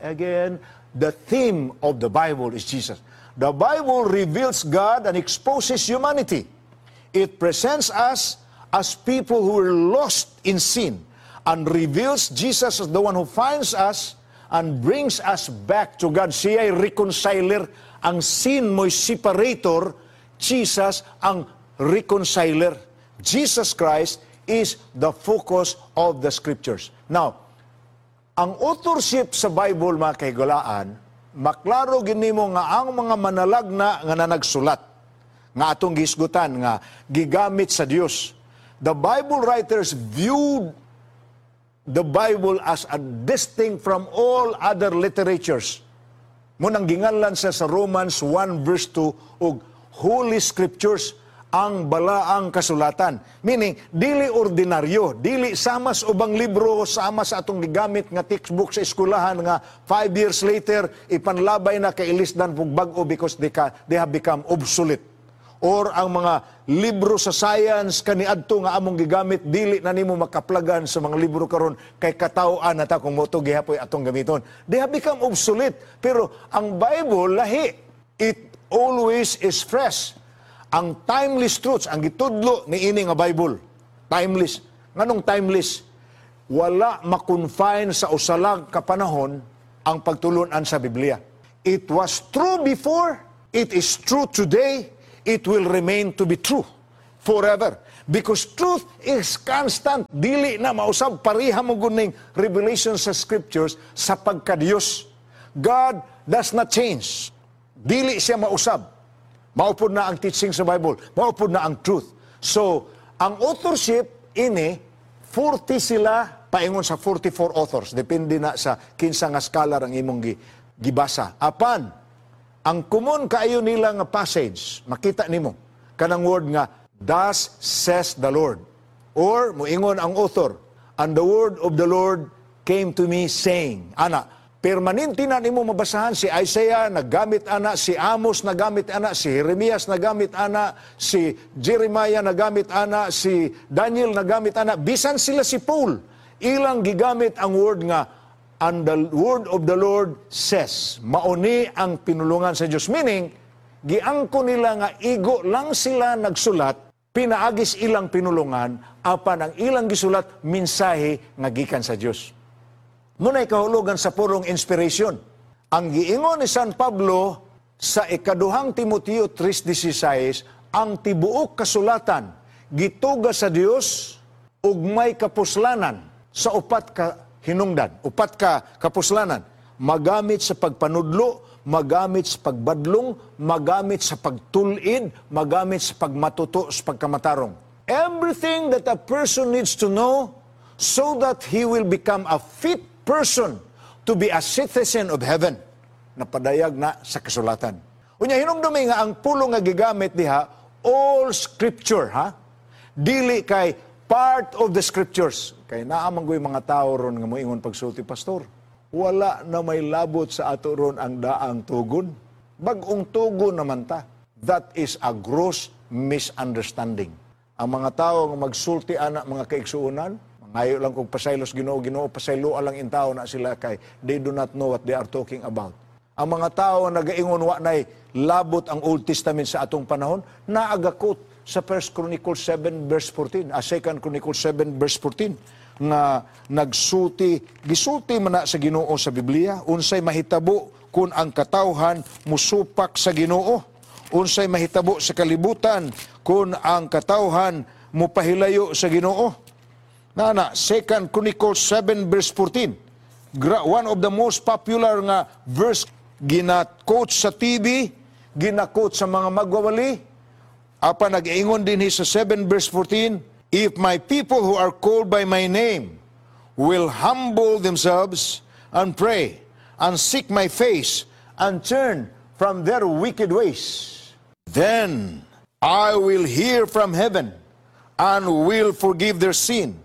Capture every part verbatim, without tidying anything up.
again. The theme of the Bible is Jesus. The Bible reveals God and exposes humanity. It presents us as people who are lost in sin and reveals Jesus as the one who finds us and brings us back to God. Siya ay reconciler. Ang sin mo'y separator. Jesus ang reconciler. Jesus Christ is the focus of the Scriptures. Now, ang authorship sa Bible, mga kahigalaan, maklaro gyud nimo nga ang mga manalagna nga nanagsulat, nga atong gihisgutan, nga gigamit sa Dios. The Bible writers viewed the Bible as a distinct from all other literatures. Mao nang ginganlan siya sa Romans one verse two og Holy Scriptures, ang balaang kasulatan. Meaning, dili ordinaryo, dili sama sa ubang libro, sama sa atong gigamit nga textbook sa eskwelahan nga five years later, ipanlabay na kay ilisdan pug bag-o because they, ka, they have become obsolete. Or ang mga libro sa science kaniadto nga among gigamit, dili na nimo makaplagan sa mga libro karon kay kataw-an na ta kung mao to gihapoy atong gamiton. They have become obsolete. Pero ang Bible lahi. It always is fresh. Ang timeless truths, ang gitudlo ni ini nga Bible. Timeless. Nganong timeless? Wala ma-confine sa usa lang ka panahon ang pagtulunan sa Biblia. It was true before, it is true today, it will remain to be true forever. Because truth is constant. Dili na mausab, pareha man gud ning revelation sa Scriptures sa pagkadiyos. God does not change. Dili siya mausab. Mao pod na ang teaching sa Bible. Mao pod na ang truth. So, ang authorship ini, forty sila, paingon sa forty-four authors. Depende na sa kinsa nga scholar ang imong gi, gibasa. Apan, ang common kaayo nila nga passage, makita nimo, kanang word nga, "Thus says the Lord." Or, muingon ang author, "And the word of the Lord came to me saying," ana, permanente na nimo mabasahan. Si Isaiah naggamit ana, si Amos nagamit ana, si Jeremias nagamit ana, si Jeremiah nagamit ana, si Daniel nagamit ana, bisan sila si Paul, ilang gigamit ang word nga "And the word of the Lord says." Mao ni ang pinulungan sa Dios. Meaning, giangko nila nga igo lang sila nagsulat, pinaagis ilang pinulungan, apan ang ilang gisulat, mensahe nga gikan sa Dios. Mao nay kahulugan sa purong inspiration. Ang giingon ni San Pablo sa ikaduhang Timoteo three sixteen, ang tibuok kasulatan gituga sa Dios ug may kapuslanan sa upat ka hinungdan, upat ka kapuslanan: magamit sa pagpanudlo, magamit sa pagbadlong, magamit sa pagtulid, magamit sa pagmatuto sa pagkamatarong. Everything that a person needs to know so that he will become a fit person to be a citizen of heaven, napadayag na sa kasulatan. Unya hinumdumi nga ang pulong nga gigamit diha, all Scripture, ha? Dili kay part of the Scriptures. Kay naa man goy mga tao ron nga moingon pagsulti, "Pastor, wala na may labot sa ato ron ang daang tugon. Bag-ong tugon naman ta." That is a gross misunderstanding. Ang mga tao nga magsulti ana, mga kaigsuonan, mangayo lang kung pasaylos Ginoo, Ginoo, pasaylo lang intawon na sila kay they do not know what they are talking about. Ang mga tao nga nagaingon wa nay labot ang Old Testament sa atong panahon, naagakot sa First Chronicles seven verse fourteen, ah, Second Chronicles seven verse fourteen nga nagsulti, gisulti man na sa Ginoo sa Biblia unsay mahitabo kung ang katawhan musupak sa Ginoo, unsay mahitabo sa kalibutan kung ang katawhan mupahilayo sa Ginoo. Nana, Second Chronicles seven verse fourteen. Gra- one of the most popular nga verse gina-quote sa T V, gina-quote sa mga magwawali. Apa nag-ingon din sa seven verse fourteen, "If my people who are called by my name will humble themselves and pray and seek my face and turn from their wicked ways, then I will hear from heaven and will forgive their sin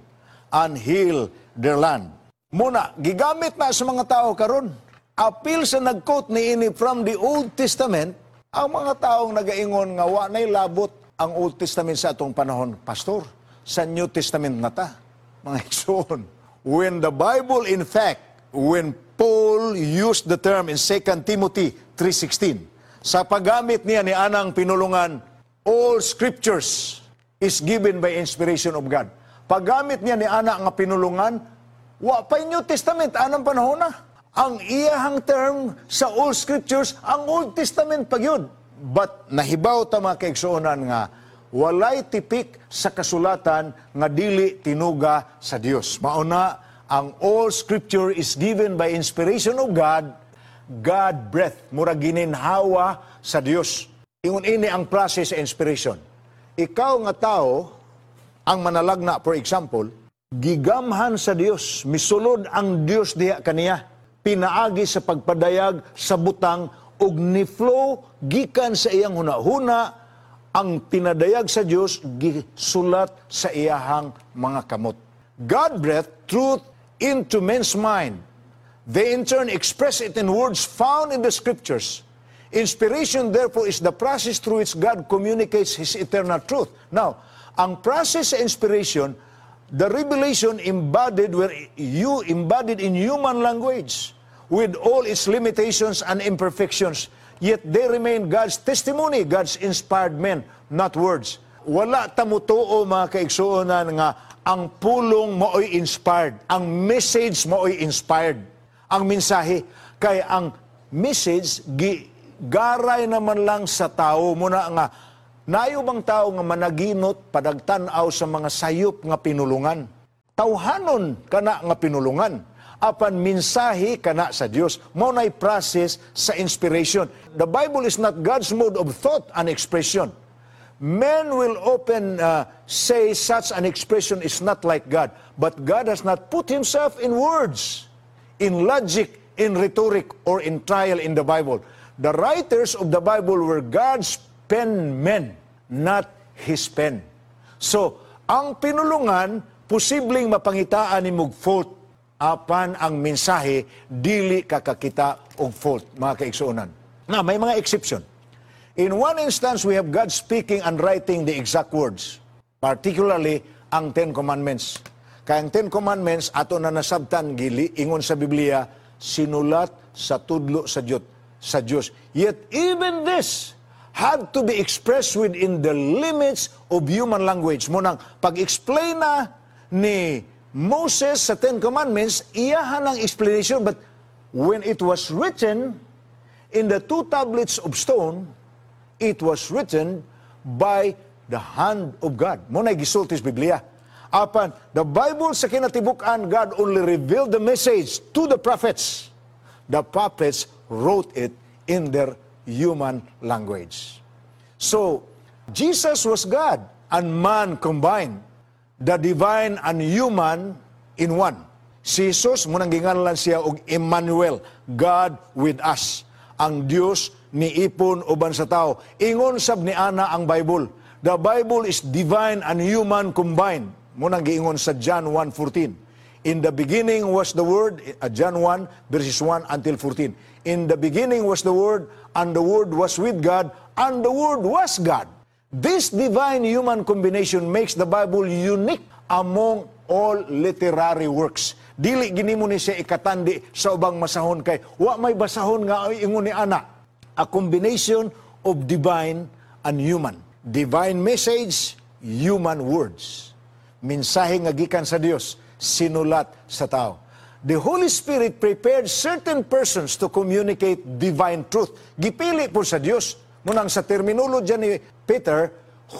and heal their land." Mao na, gigamit na sa mga tao karon. Apil sa nag-quote ni ini from the Old Testament, ang mga taong nagaingon nga wa nay labot ang Old Testament sa atong panahon, "Pastor, sa New Testament na ta." Mga igsoon, when the Bible, in fact, when Paul used the term in Second Timothy three sixteen. Sa paggamit niya ni anang pinulungan, "All scriptures is given by inspiration of God." Paggamit niya ni ana nga pinulungan, wa pa New Testament anang panahon na. Ang iyahang term sa all scriptures, ang Old Testament pa gyud. But nahibaw ta, mga kaigsuonan, nga walay tipik sa kasulatan nga dili tinuga sa Dios. Mauna ang all scripture is given by inspiration of God, God breath, mura gininhawa sa Dios. Ingon ini ang process sa inspiration. Ikaw nga tao, ang manalagna, for example, gigamhan sa Dios, misulod ang Dios diha kaniya, pinaagi sa pagpadayag sa butang ug ni-flow gikan sa iyang hunahuna ang pinadayag sa Dios, gisulat sa iyahang mga kamot. God breathed truth into men's mind. They in turn express it in words found in the scriptures. Inspiration, therefore, is the process through which God communicates His eternal truth. Now, ang process sa inspiration, the revelation embodied where you embodied in human language with all its limitations and imperfections, yet they remain God's testimony, God's inspired men, not words. Wala ta mutuo, mga kaigsuonan, nga ang pulong maoy inspired, ang message maoy inspired. Ang mensahe kay ang message gi garay naman lang sa tao muna nga nayo bang tao nga managinot padagtan-aw sa mga sayop nga pinulungan. Tawhanon kana nga pinulungan, apan mensahe kana sa Dios. Mao nay process sa inspiration. The Bible is not God's mode of thought and expression. Men will often uh, say such an expression is not like God, but God has not put himself in words, in logic, in rhetoric, or in trial in the Bible. The writers of the Bible were God's pen men, not His pen. So, ang pinulungan, posibleng mapangitaan nimog fault, apan ang mensahe, dili kakakita og fault, mga kaigsuonan. Na, may mga exception. In one instance, we have God speaking and writing the exact words, particularly ang Ten Commandments. Kaya ang Ten Commandments, ato na nasabtan, gili, ingon sa Biblia, sinulat sa tudlo sa Diyos. Sa Diyos. Yet even this had to be expressed within the limits of human language. Munang pag-explain na ni Moses sa Ten Commandments, iyahan ang explanation. But when it was written in the two tablets of stone, it was written by the hand of God. Mao na gisulti sa Biblia. Apan, the Bible sa kinatibuk-an, God only revealed the message to the prophets. The prophets wrote it in their human language. So, Jesus was God and man combined. The divine and human in one. Si Jesus, munang ginganlan siya og Emmanuel, God with us. Ang Dios niipon uban sa tao. Ingon sab ni ana ang Bible. The Bible is divine and human combined. Munang giingon sa John one fourteen. "In the beginning was the Word," uh, John one verses one until fourteen. "In the beginning was the Word, and the Word was with God, and the Word was God." This divine human combination makes the Bible unique among all literary works. Dili gini mo ni siya ikatandi sa ubang masahon kay wa may basahon nga ingon ni ana. A combination of divine and human. Divine message, human words. Mensahe nga gikan sa Dios, sinulat sa tao. The Holy Spirit prepared certain persons to communicate divine truth. Gipili po sa Dios. Munang sa terminology ni Peter,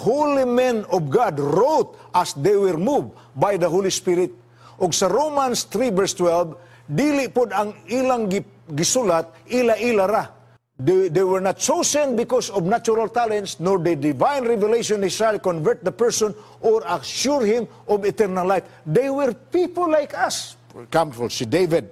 holy men of God wrote as they were moved by the Holy Spirit. Og sa Romans three verse twelve, dili pod ang ilang gi- gisulat, ila-ila ra. They, they were not chosen because of natural talents, nor the divine revelation Israel convert the person or assure him of eternal life. They were people like us. For example, si David.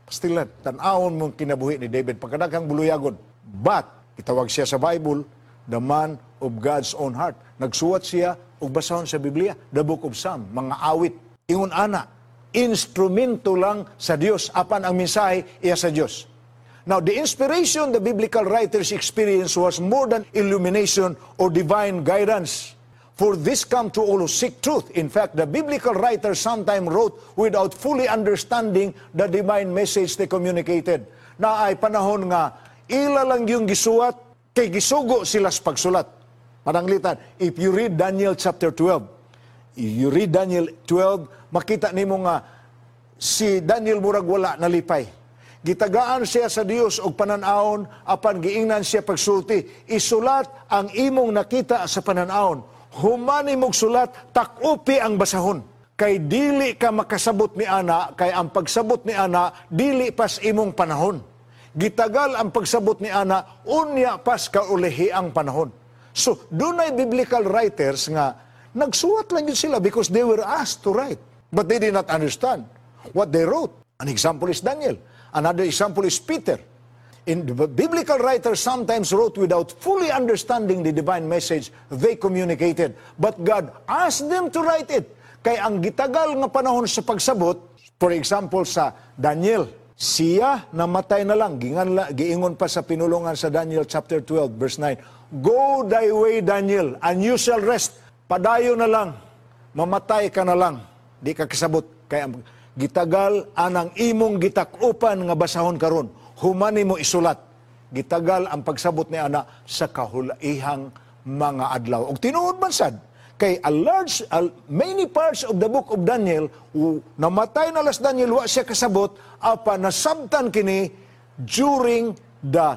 Pastilan, tan-awon mong kinabuhi ni David, pagkadaghang buluyagon. But, itawag siya sa Bible, the man of God's own heart. Nagsuwat siya og basahon sa Biblia, the Book of Psalm, mga awit. Ingon ana, instrumento lang sa Dios apan ang mensahe iya sa Dios. Now, the inspiration the biblical writers experienced was more than illumination or divine guidance. For this come to all who seek truth. In fact, the biblical writers sometimes wrote without fully understanding the divine message they communicated. Naay panahon nga, ila lang yung gisuwat, kay gisugo sila sa pagsulat. Pananglitan, if you read Daniel chapter twelve, if you read Daniel twelve, makita nimo nga si Daniel murag wala nalipay. Gitagaan siya sa Dios og panan-awon apan giingnan siya pagsulti, "Isulat ang imong nakita sa panan-awon. Human imong sulat, takupi ang basahon. Kay dili ka makasabot ni ana, kay ang pagsabot ni ana dili pas imong panahon." Gitagal ang pagsabot ni ana, unya pas kaulihi ang panahon. So, dunay biblical writers nga nagsuwat lang yun sila because they were asked to write. But they did not understand what they wrote. An example is Daniel. Another example is Peter. In the biblical writers sometimes wrote without fully understanding the divine message they communicated. But God asked them to write it. Kay ang gitagal nga panahon sa pagsabot, for example sa Daniel, siya namatay na lang, gingan, giingon pa sa pinulungan sa Daniel chapter twelve verse nine, "Go thy way, Daniel, and you shall rest." Padayo na lang, mamatay ka na lang, di ka kasabot. Kay ang gitagal anang imong gitakupan nga basahon karon, human mo isulat. Gitagal ang pagsabot ni ana sa kahulaihang mga adlaw. Og tinuod man sad, kay a large, a, many parts of the book of Daniel, u, namatay na las Daniel, wa siya kasabot, apa nasabtan kini during the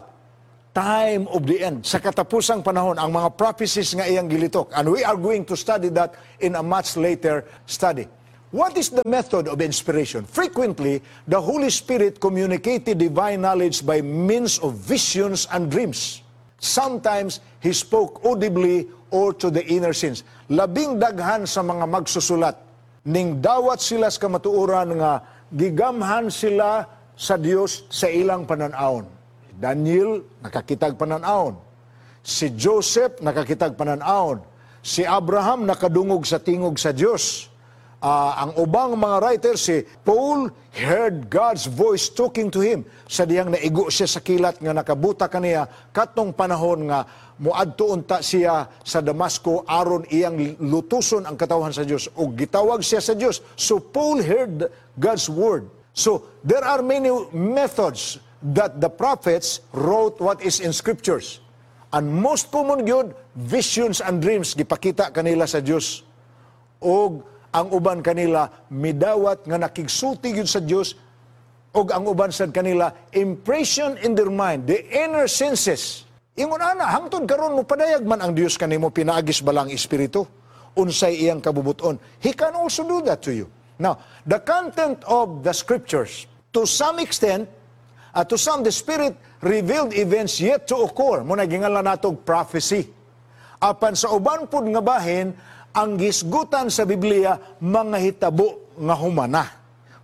time of the end. Sa katapusang panahon, ang mga prophecies nga iyang gilitok. And we are going to study that in a much later study. What is the method of inspiration? Frequently, the Holy Spirit communicated divine knowledge by means of visions and dreams. Sometimes, He spoke audibly or to the inner sense. Labing daghan sa mga magsusulat, ning dawat sila sa kamatuoran nga gigamhan sila sa Dios sa ilang pananawon. Daniel, nakakitag pananawon. Si Joseph, nakakitag pananawon. Si Abraham, nakadungog sa tingog sa Dios. Ah, ang ubang mga writers, si Paul heard God's voice talking to him sa diyang naigo siya sa kilat nga nakabuta kaniya katong panahon nga muadto unta siya sa Damasco aron iyang lutuson ang katawhan sa Dios ug gitawag siya sa Dios. So Paul heard God's word. So there are many methods that the prophets wrote what is in scriptures. And most common gyud, visions and dreams, gipakita kanila sa Dios. Og ang uban kanila midawat nga nakigsulti gyud sa Dios, og ang uban sad kanila impression in their mind, the inner senses. Ingon ana, hangtod karon mo padayag man ang Dios kanimo pinaagis balang espiritu unsay iyang kabubuton. He can also do that to you. Now, the content of the scriptures, to some extent, uh, to some, the Spirit revealed events yet to occur. Mao na ginganlan natog prophecy. Apan sa uban pud nga bahin, ang gisgutan sa Biblia mga hitabo nga humana.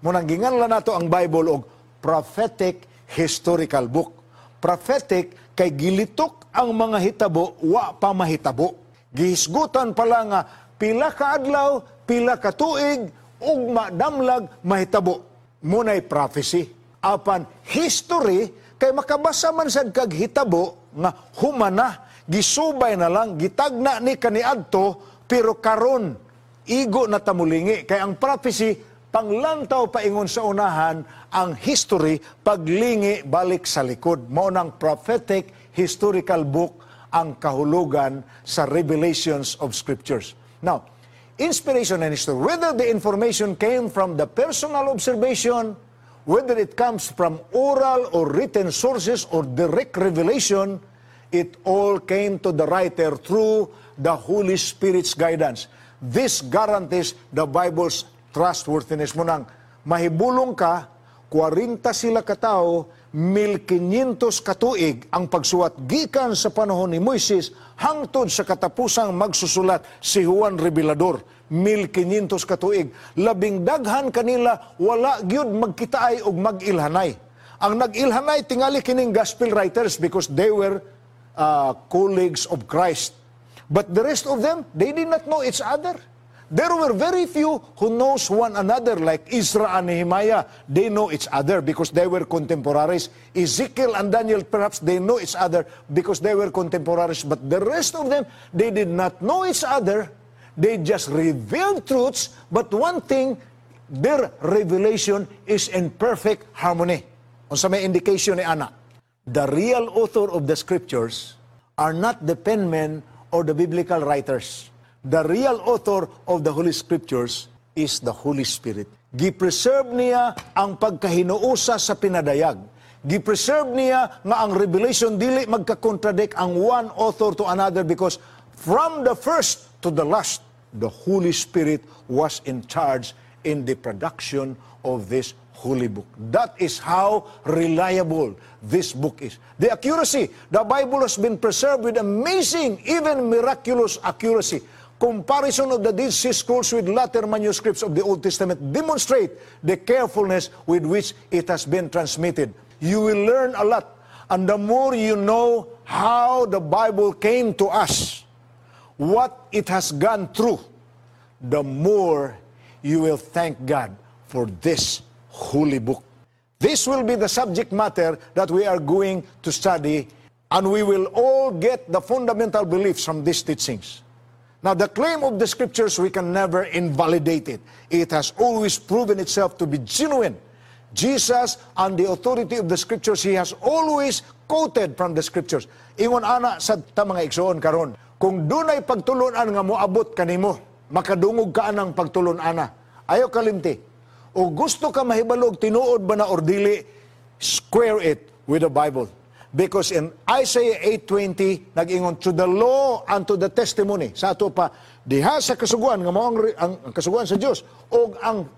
Mao nang ginganlan nato ang Bible og prophetic historical book. Prophetic kay gilitok ang mga hitabo wa pa mahitabo. Gihisgutan pala nga pila ka adlaw, pila ka tuig, ugma damlag mahitabo. Mao nay prophecy. Apan history kay makabasa man sad kag hitabo nga humana, gisubay na lang, gitagna ni kaniadto, pero karon igo na tamulingi. Kay ang prophecy panglantaw paingon sa unahan, ang history paglingi balik sa likod. Mao nang prophetic historical book ang kahulugan sa revelations of scriptures. Now, inspiration and history, whether the information came from the personal observation, whether it comes from oral or written sources or direct revelation, it all came to the writer through the Holy Spirit's guidance. This guarantees the Bible's trustworthiness. Mao nang mahibulong ka, kwarenta sila katao, mil kinyentos katuig ang pagsuwat gikan sa panahon ni Moises hangtod sa katapusang magsusulat si Juan Revelador, mil kinyentos katuig. Labing daghan kanila wala gyud magkitaay og mag-ilhanay. Ang nag-ilhanay tingali kining gospel writers because they were uh, colleagues of Christ, but the rest of them, they did not know each other. There were very few who knows one another, like Ezra and Nehemiah. They know each other because they were contemporaries. Ezekiel and Daniel, perhaps they know each other because they were contemporaries. But the rest of them, they did not know each other. They just reveal truths, but one thing, their revelation is in perfect harmony. Unsa may indication ni ana? The real author of the scriptures are not the penmen or the biblical writers. The real author of the Holy Scriptures is the Holy Spirit. Gi-preserve niya ang pagkahinuosa sa pinadayag. Gi-preserve niya nga ang revelation dili magka-contradict ang one author to another because from the first to the last, the Holy Spirit was in charge in the production of this holy book. That is how reliable this book is. The accuracy, the Bible has been preserved with amazing, even miraculous accuracy. Comparison of the Dead Sea Scrolls with later manuscripts of the Old Testament demonstrate the carefulness with which it has been transmitted. You will learn a lot. And the more you know how the Bible came to us, what it has gone through, the more you will thank God for this holy book. This will be the subject matter that we are going to study, and we will all get the fundamental beliefs from these teachings. Now, the claim of the scriptures, we can never invalidate it. It has always proven itself to be genuine. Jesus and the authority of the scriptures, he has always quoted from the scriptures. Ingon ana sa ta mga igsoon karon, kung dunay pagtulunan nga moabot kanimo, makadungog ka anang pagtulun-ana. Ayaw kalimti. O gusto ka mahibalog tinuod ba na or dili, square it with the Bible. Because in Isaiah eight twenty, nag-ingon, "To the law and to the testimony." Sa ato pa, diha sa kasuguan, nga mao ang, ang, ang kasuguan sa Dios, o ang